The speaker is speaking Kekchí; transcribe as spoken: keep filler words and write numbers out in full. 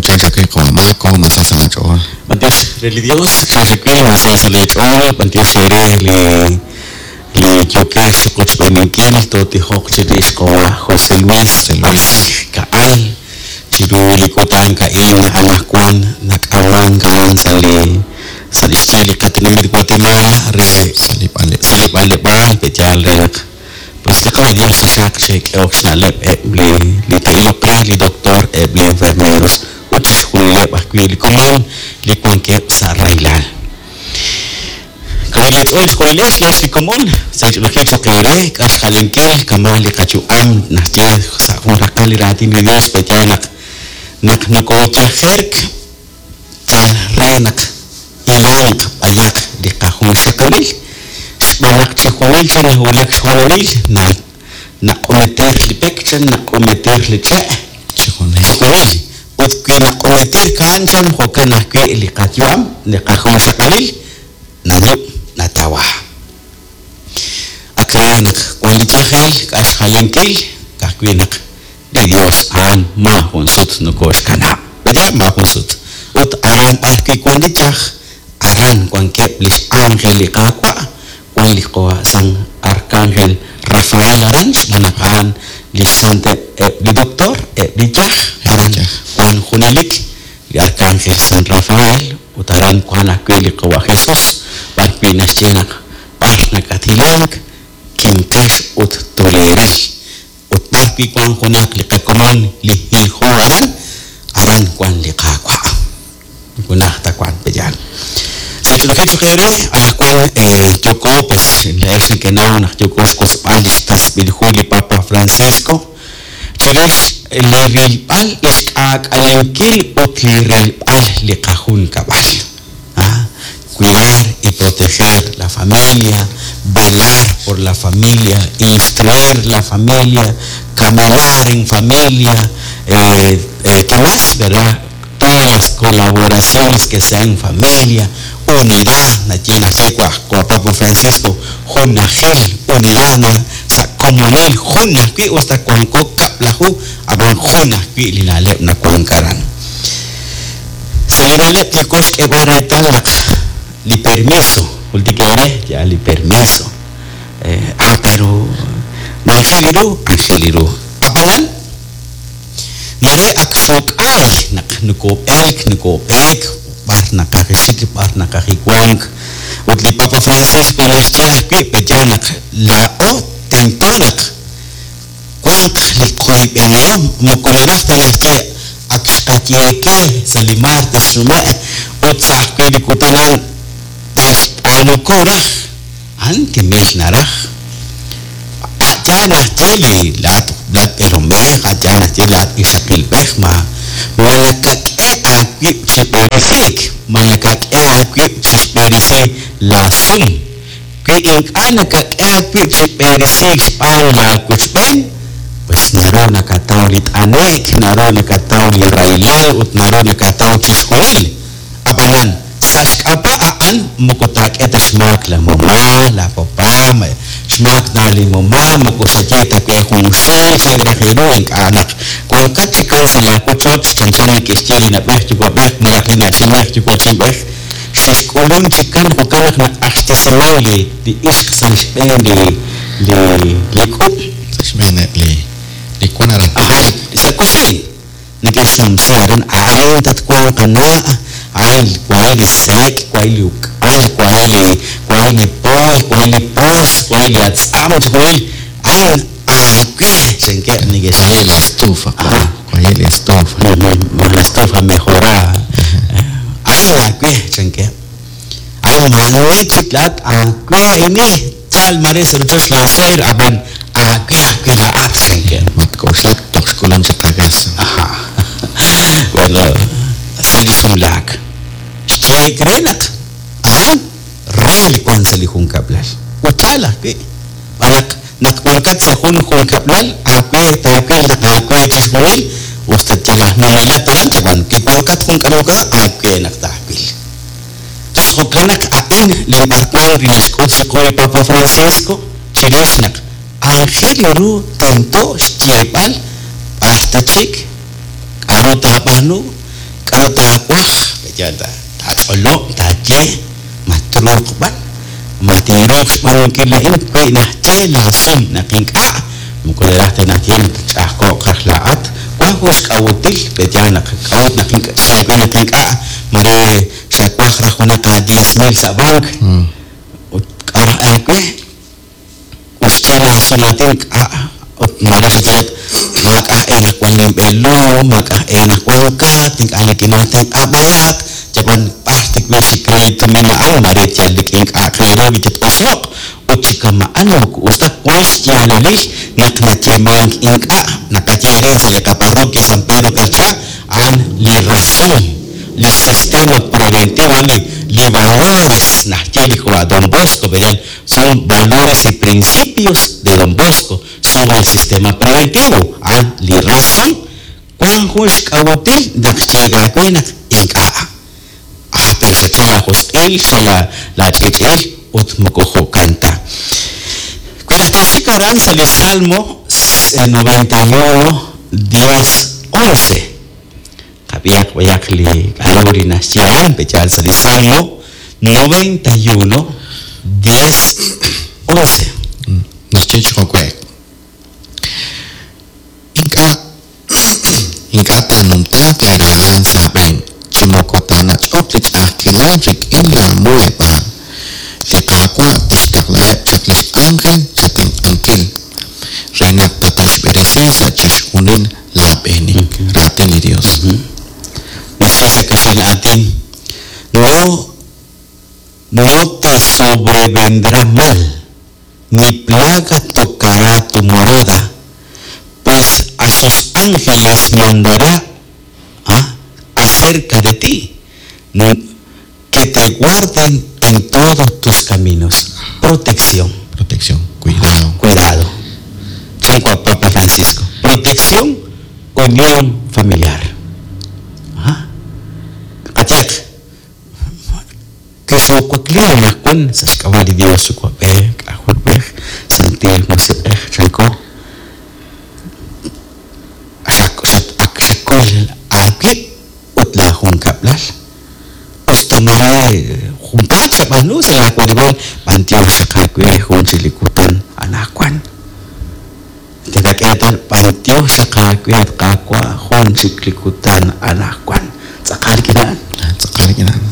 Chachakai Qomako, Masasa Ch'ool. B'antiox re li Dios, xaxakwi masasa lech'ool, b'antiox re li li yokex qochb'eninkil totijoq chirix qowa José Luis José Luis. Ka'al chiru li kutan ka'in anaqwan nak'aman ka'an sa' li sa' li xye li qatinamit Guatemala re Salib'aleb'. sa' li b'anleb'aal pe'yaal re naq pues li qawa Dios taxaq xe'k'ehok xna'leb' eb' li li te'iloq re li doctor eb' li enfermeros ut chixjunileb' ajwi' li komon li wankeb' sa' rahilal. Kawilech'ool xjunilex lex li komon sa' xch'olojil choq eere k'axjalinkil kama' li qayu'am naxye sa' jun raqal li raatin li Dios pe'yaal naq naq nokoyajerk yal re naq hilanq b'ayaq li qajunxaqalil xb'aan naq chijunil chan nawulak xhoonalil na naq'umeter li pek chan naq'umeter li che' Chijunil. chijunil ut wi naq'umeter kaan chan jo'kan ajwi' li qayu'am li qajunxaqalil nalub' natawa ak re naq wan li yajel k'axjalinkil ka'ajwi' naq li Dios a'an maajun sut nokoxkanab' ¿verdad? Maajun sut ut aran b'arwi' wan li yaj aran wankeb' lix ángel li Qaawa' wan li qawa San Arcángel Rafael aran xb'aan naq a'an li xsanteb' eb' li doctor eb' li yaj aran Yaj. wan junelik li Arcángel San Rafael ut aran wan ajwi' li qawa Jesús b'arwi' naxye naq b'ar nakathilank kinqex ut toleril ut b'arwi' wan junaq li qakomon li hiljo aran aran wan li Qaawa' junaj ta wan pe'yaal sa' xch'olojil choq eere anaqwan eh, yoko pues le'ex nekenaw naq yoko xk'osb'al li xtasb'il hu li Papa Francisco chirix li rilb'al li xk'aak'alenkil ut li rilb'al li qajunkab'al. Ah, cuidar y proteger la familia, velar por la familia, instruir la familia, caminar en familia, eh, eh, ¿qué más? ¿Verdad? Todas las colaboraciones que sean en familia, unidad, na kwa Papa Francisco, junajil, unidad, na sa komunil, junajwi, usta kuanko kaplahu, aban junajwi linaleb na kuankaran. Sa linaleb tikox k'eb'aretal naq li permiso, ultikere, ya li permiso. Eh, ah, pero angeliru, angeliru. Apanan, mare ak xok'ay naq nukob'elk, nukob'eek, b'ar naqajixik, b'ar naqajiwank. Ut li Papa Francisco naxye ajwi' pe'yaal naq laa'o tento naq wanq li qoyb'enihom moko naraj ta naxye ak xqayeeke sa' li martes xnume' ut sa' ajwi' li kutan a'an taxb'aanuku raj a'an timil naraj a'yaal naxye li laat laat b'eelomej a'yaal naxye laat ixaqilb'ej ma ma nakak'e aawib' chi b'eresiik ma nakak'e aawib' chi xb'eresi la sum wi ink'a' nakak'e aawib' chi b'eresiik xb'aan laawochb'een pues naru nakataw li t'ane'k naru nakataw li rahilal ut naru nakataw chixjunil ab'anan sa' xk'ab'a' a'an moko taak'e ta xmaak la mamá la papá ma- xmaak na li mamá moko xaye ta we junxil chan raj ru ink'a' naq wankat chikan sa' laawochoch chanchan neke'xye li nab'ej yuwa'b'ej malaj li na'chinb'ej yuwa'chinb'ej xexk'ulun chikan jo'kan naq naq'axtesiman li li ixq sa' xb'een li li li k'ub' Sa' xb'eeneb' li li wan aran. Ajá, sa' kusiin neke'xnumsi aran a'in tatwanq qana' a'in waay li sek' waay li uk'al waay li waay li pooy waay li poos waay li atz'am chixjunil a'in aawe chankeb' neke'xye Waay la estufa. Ajá. Waay la estufa. la estufa mejorada a'in aawe chankeb' a'in maani chik laat aawe ini chal mare sa' rochoch la suegr ab'an aawe ajwi' laa'at chankeb' Matk'oxlak toj xk'ulun chaq agas. Ajá. Bueno, sa' li sumlaak. Xyeek re naq a'an re li wan sa' li junkab'lal. Ut yaal ajwi'. B'an naq naq wankat sa' jun junkab'lal, aawe taawil naq aawe chixjunil, usta yal aj numelat aran chab'an, ki wankat jun k'aru k'a, aawe naq taawil. Entonces, jo'kan naq a'in li b'arwan li naxk'ut chiqu li Papa Francisco, chirix naq aajel ru tento xyeeb'al b'ar ta chik, k'aru taab'aanu, K'aru taawaj pe'yaal taach'olob' taaye ma truuq b'an ma tinruuq xb'aanunkil a'in wi naxye laasum naq ink'a' moko naraj ta naxye naq ch'a'ajko'q raj laa'at wan jun xk'a'util pe'yaal naq k'a'ut naq ink'a' xyeeb'al naq ink'a' mare xawaj raj junaq a diez mil sa' bank ut k'a' raj aawe ut xye laasumaatin k'a' ut mare xaye maak'a' enaq wan linb'eelom maak'a' enaq wan kat ink'a' nikinaatenq'a b'ayaq yab'an b'ar tikb'il chi crédito min a'an mare yal rik'in k'a'aq re ru li tat'oso'q ut chi kama'an moko us ta wan xyaalalil naq nayeemank ink'a' naqaye arin sa' li qaparroquia San Pedro Carchá a'an li razón li sistema preventivo a'an li li valores naxye li qawa' Don Bosco ¿verdad? Son valores y principios de Don Bosco sobre el sistema preventivo a'an li razón wan jun xk'a'util naq xyeegawe naq ink'a' ah pero xacha la josq'il xa la la ch'ich'il ut moko jo'kan ta wi naq tooxik aran sa' li Salmo noventa y uno diez once qab'iyaq b'ayaq li k'aru li naxye a'an pe'yaal sa' li Salmo noventa y uno diez once Naxye chi jo'we' ink'a' ink'a' taanumtaaq li rahilal sa' aab'een chi moko taanach'oq li ch'a'ajkilal rik'in laamuheb'aal li Qaawa' tixtaqlaheb' chaq lix ángel chatenq'ankil re naq tataxb'eresi sa' chixjunil laab'eenik raatin li Dios. Naxye sa' kaxlan aatin no no te sobrevendrá mal ni plaga tocará tu morada pues a sus ángeles mandará ¿ah? acerca de ti que te guarden en todos tus caminos. Protección. Protección, cuidado. Cuidado. Chanco a Papa Francisco. Protección, unión familiar. ¿Ah? Katiak. Kixokuakli nakwan sa xk'ab'a' li Dios yuwa'b'ej, k'ajolb'ej, Santil Musiq'ej, chanko. Xak- xat- ak xakol aawib' ut laajunkab'lal. Usta mare junpaat xab'aanu sa' laawarib'aal, b'antiox xaqaawe jun chik li kutan anaqwan. Tinak'e reetal b'antiox xaqaawe at qaawa' jun chik li kutan anaqwan. Tz'aqal kina'an. Tz'aqal kina'an.